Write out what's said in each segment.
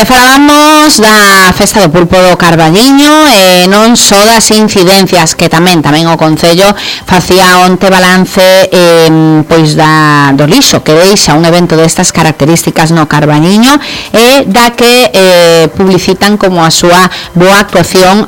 Falamos da festa do pulpo do Carballiño e non só das incidencias que tamén o Concello facía onte balance pois do lixo que deixa un evento destas características no Carballiño e da que publicitan como a súa boa actuación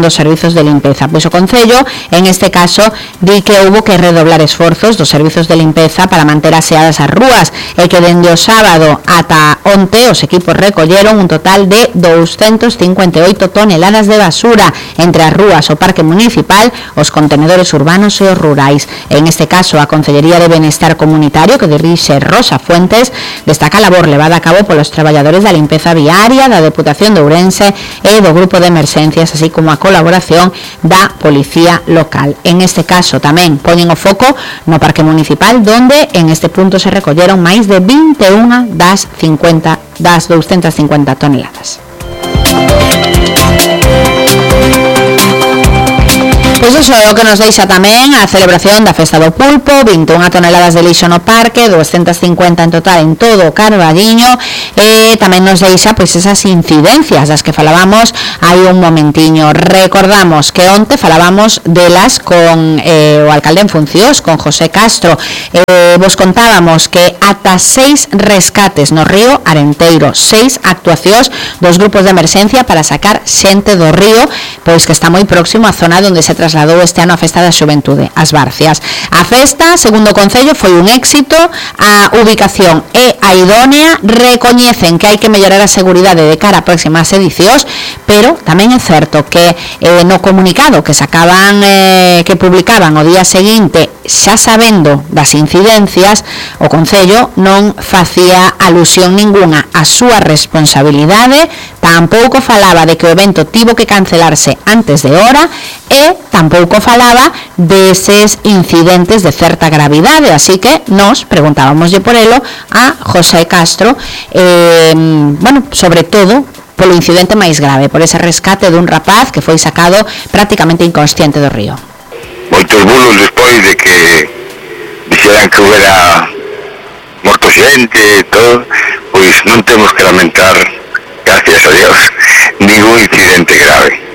dos servizos de limpeza. Pois o Concello en este caso di que houbo que redoblar esforzos dos servizos de limpeza para manter aseadas as rúas e que dende o sábado ata onte os equipos recolleron un total de 258 toneladas de basura entre as rúas, o parque municipal, os contenedores urbanos e os rurais. En este caso, a Consellería de Benestar Comunitario, que dirixe Rosa Fuentes, destaca a labor levada a cabo polos traballadores da limpeza viaria, da Deputación de Ourense e do Grupo de Emerxencias, así como a colaboración da Policía Local. En este caso, tamén poñen o foco no parque municipal, donde en este punto se recolleron máis de 21 das 250 toneladas. Pois iso é o que nos deixa tamén a celebración da Festa do Pulpo, 21 toneladas de lixo no parque, 250 en total en todo o Carballiño, e tamén nos deixa pois esas incidencias das que falábamos hai un momentiño. Recordamos que onte falábamos delas con o alcalde en funcións, con José Castro. Vos contábamos que ata 6 rescates no río Arenteiro, 6 actuacións dos grupos de emerxencia para sacar xente do río, pois que está moi próximo á zona onde se trasladou este ano a Festa da Xuventude, as Barcias. A festa, segundo o Concello, foi un éxito, a ubicación é a idónea, recoñecen que hai que mellorar a seguridade de cara a próximas edicións, pero tamén é certo que no comunicado que sacaban, que publicaban o día seguinte, xa sabendo das incidencias, o Concello non facía alusión ninguna á súa responsabilidade, tampouco falaba de que o evento tivo que cancelarse antes de hora e tampouco falaba deses incidentes de certa gravidade, así que nos preguntábamoslle por elo a José Castro, sobre todo polo incidente máis grave, por ese rescate dun rapaz que foi sacado prácticamente inconsciente do río. Moitos bulos despois de que dixeran que houbera morto xente e todo, pois non temos que lamentar, gracias a Dios, ningún incidente grave.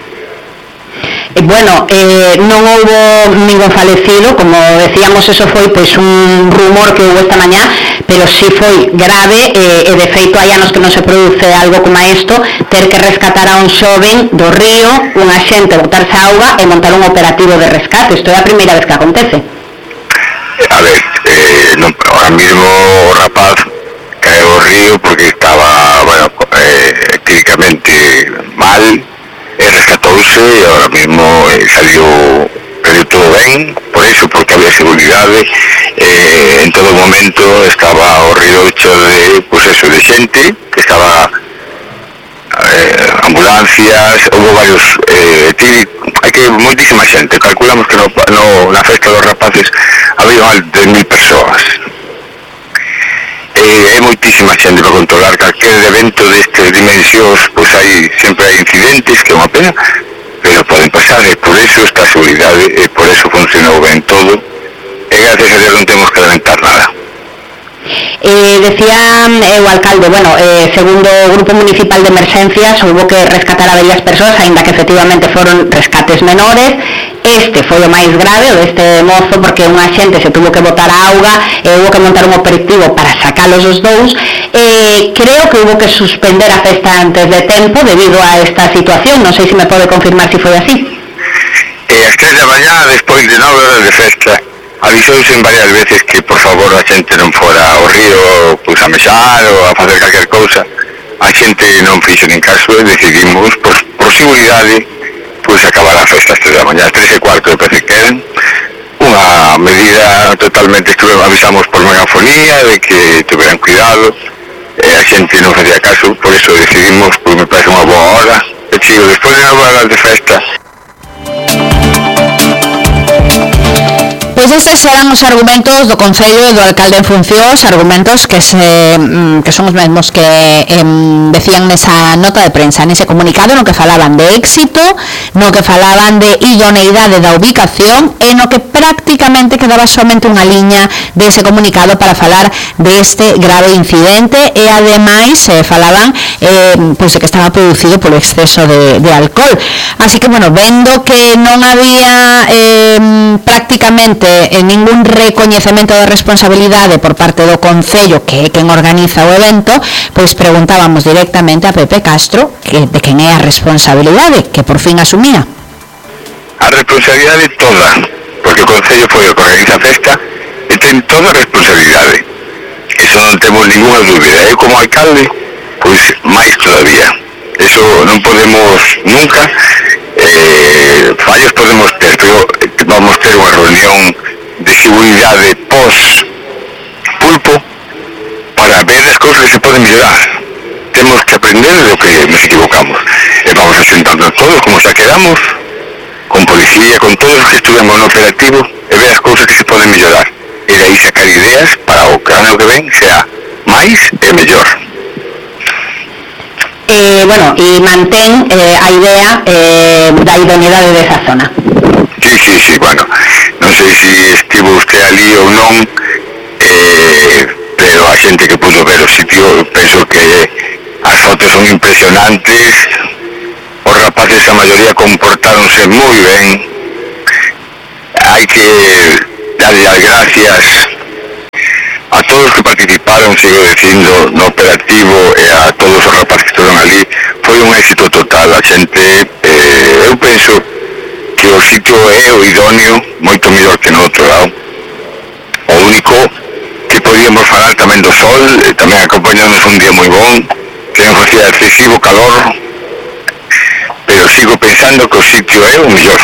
Non houbo ningún falecido, como decíamos, eso foi pois un rumor que houve esta mañá, pero si foi grave e de feito hai anos que non se produce algo como isto, ter que rescatar a un xoven do río, unha xente botarse a auga e montar un operativo de rescate. Isto é a primeira vez que acontece. A ver, ahora mismo o rapaz caeu ao río porque estaba, clínicamente mal, rescatouse e ahora mismo saliu todo ben, por eso, porque había seguridade, en todo momento estaba o río hecho de, de xente, que estaba ambulancias, houve varios, hai que moitísima xente, calculamos que na festa dos rapaces había máis de 1000 persoas. É moitísima xente para controlar calquer evento destes dimensións, pois sempre hai incidentes, que é unha pena, pero poden pasar, e por eso esta seguridade, e por eso funcionou ben todo, e gracias a Dios non temos que lamentar nada. Decía o alcalde, segundo o Grupo Municipal de Emerxencias, houve que rescatar a varias persoas, aínda que efectivamente foron rescates menores. Este foi o máis grave, o deste mozo, porque unha xente se tuvo que botar a auga e houve que montar un operativo para sacalos os dous. Creo que houve que suspender a festa antes de tempo debido a esta situación, non sei se me pode confirmar se foi así. As 3 da mañá, despois de 9 horas de festa, avisouse en varias veces que por favor a xente non fora ao río a mexar ou a facer calquer cousa. A xente non fixo nin caso e decidimos por seguridade acabar a festa às 3 da mañá, às 3:15 de parece que eran unha medida totalmente, avisamos por megafonía de que tuveran cuidado, a xente non facía caso, por eso decidimos, me parece unha boa hora, e chico, despois de 9 horas de festa. Pois estes eran os argumentos do Concello e do alcalde en funcións, argumentos que son os mesmos que decían nesa nota de prensa, nese comunicado, no que falaban de éxito, no que falaban de idoneidade da ubicación e no que prácticamente quedaba somente unha liña dese comunicado para falar deste grave incidente e ademais falaban pois de que estaba producido polo exceso de alcohol. Así que, bueno, vendo que non había prácticamente ningún recoñecemento de responsabilidade por parte do Concello, que é quen organiza o evento, pois preguntábamos directamente a Pepe Castro de quen é a responsabilidade, que por fin asumía. A responsabilidade toda, porque o Concello foi o que organiza a festa e ten toda a responsabilidade. Eso non temos ninguna dúbida. Eu como alcalde, pois máis todavía. Eso non podemos nunca, fallos podemos ter, pero vamos ter unha reunión de seguridade pos-pulpo para ver as cousas que se poden mellorar. Temos que aprender do que nos equivocamos. E vamos a sentarnos todos, como xa quedamos, con policía, con todos os que estuvemos no operativo, e ver as cousas que se poden mellorar. E de aí sacar ideas para o ano que ven sea máis e mellor. Bueno, e mantén a idea da idoneidade desa zona. Sí, bueno, non sei se estivo usted ali ou non, pero a xente que pudo ver o sitio, penso que as fotos son impresionantes, os rapaces a maioría comportáronse moi ben, hai que darle as gracias a todos que participaron, sigo dicindo, no operativo e a todos os rapaces que estaban ali. Foi un éxito total. A xente, eu penso que o sitio é o idóneo, moito mellor que no outro lado. O único que podíamos falar tamén do sol, tamén acompañamos un día moi bon, que non facía excesivo calor, pero sigo pensando que o sitio é o mellor.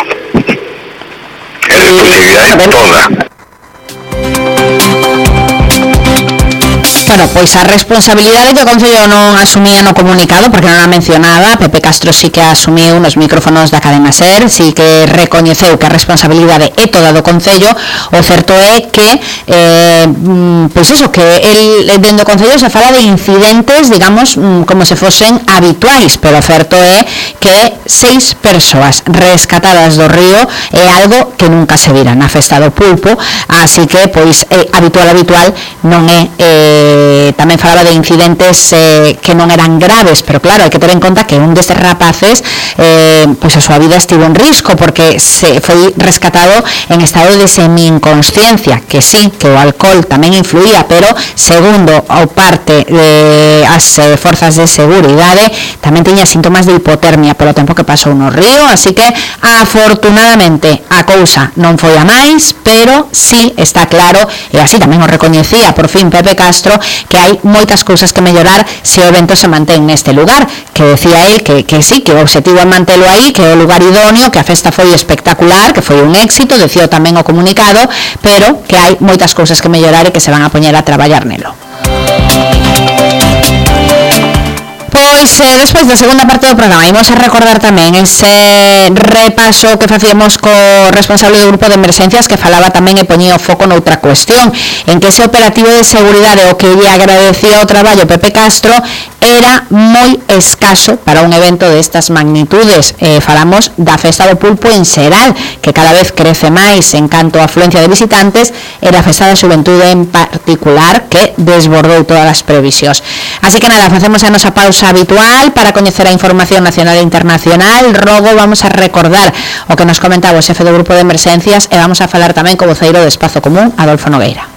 E a responsabilidade é toda. Bueno, pois a responsabilidade que o Concello non asumía no comunicado, porque non a mencionaba, Pepe Castro sí que asumiu nos micrófonos da cadena SER, sí que recoñeceu que a responsabilidade é toda do Concello. O certo é que pois eso, que el dentro do Concello se fala de incidentes, digamos, como se fosen habituais, pero o certo é que 6 persoas rescatadas do río é algo que nunca se vira na festa do pulpo, así que pois habitual non é. Tamén falaba de incidentes que non eran graves, pero claro, hai que ter en conta que un destes rapaces pois a súa vida estivo en risco porque se foi rescatado en estado de semi-inconsciencia, que sí, que o alcohol tamén influía, pero segundo o parte as forzas de seguridade tamén tiña síntomas de hipotermia polo tempo que pasou no río, así que afortunadamente a cousa non foi a máis, pero sí está claro, e así tamén o recoñecía por fin Pepe Castro, que hai moitas cousas que mellorar se o evento se mantén neste lugar, que decía él que sí, que o objetivo é mantelo aí, que é o lugar idóneo, que a festa foi espectacular, que foi un éxito, decía tamén o comunicado, pero que hai moitas cousas que mellorar e que se van a poñer a traballar nelo. Pois despois da segunda parte do programa imos a recordar tamén ese repaso que facíamos co responsable do grupo de emerxencias, que falaba tamén e poñía o foco noutra cuestión, en que ese operativo de seguridade o que lle agradecía o traballo Pepe Castro era moi escaso para un evento destas magnitudes. Falamos da festa do pulpo en xeral, que cada vez crece máis en canto a afluencia de visitantes, e da festa da xuventude en particular, que desbordou todas as previsións. Así que nada, facemos a nosa pausa habitual para coñecer a información nacional e internacional. Logo vamos a recordar o que nos comentaba o xefe do grupo de emerxencias e vamos a falar tamén co voceiro do Espazo Común, Adolfo Nogueira.